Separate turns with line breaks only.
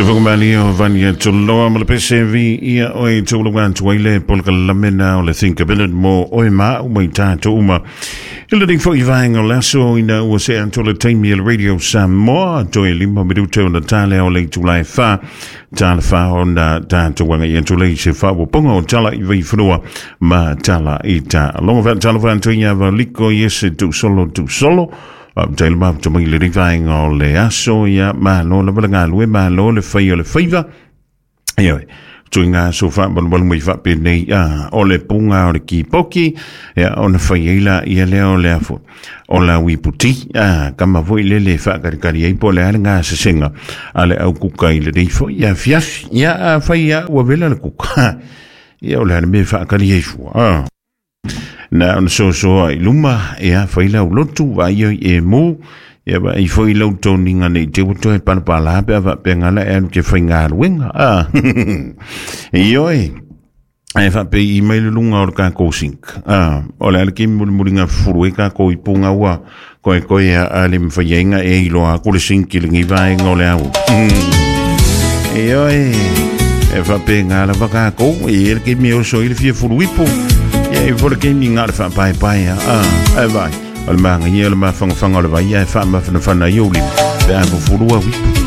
Sofokumalia o Vania Tuloa ma le pese vi ia oe taualaga atu ai le polokalame na o le Think About It mo oe ma au mai tatou uma. I lenei foi vaega o le aso ina ua see atu le taimi e le Radio Samoa toe 5 minute ona tale o le itula e 4 tala 4 ona tatou agai atu lea i se faaopoopoga o tala i Vaifanua ma tala i Taaloga. Faatalofa atu ia Valiko Iese Tuusolo Tuusolo. Faafetai le mafuta mai i lenei vaega o le aso, ia malo lava le galue, malo le fai o le faiva. Ioe, tuiga aso faamalumalu mai faapenei, a o le puga o le kipoki, ia ona fai ai la ia lea o le afo o la uiputi, a kama foi lele e faakalikali ai po o le a le gasesega a le au kuka i lenei foi afiafi. Ia a fai a ua vela le kuka, ia o le a le mea e faakali ai fua, a. Na ona sosoa i luma, ia fai lau lotu, vaai ai e mu, ia vaai foi lau toniga nei te ua toe palapala pe a faapea ngala e alu ke faigaluega. Ah. Ioe. Ae faapei i mai le luga o le kākou sink. Ah, o le a le kemi mulimuliga fufulu ai kākou i punga ua koe koe a a le mawhai ai nga e iloa aku le sink i lengi vaenga o le au. Ioe. E whape ngā lava kākou, e e le kemi o so i le fia fulu ipo. Ia e fo le kemi ngā le whaapaepae a. Ah, e vai. O le maanga ia o le mawhangawhanga o le vai e whaamawhanawhana i o lima. Pe a fufulu au ipo.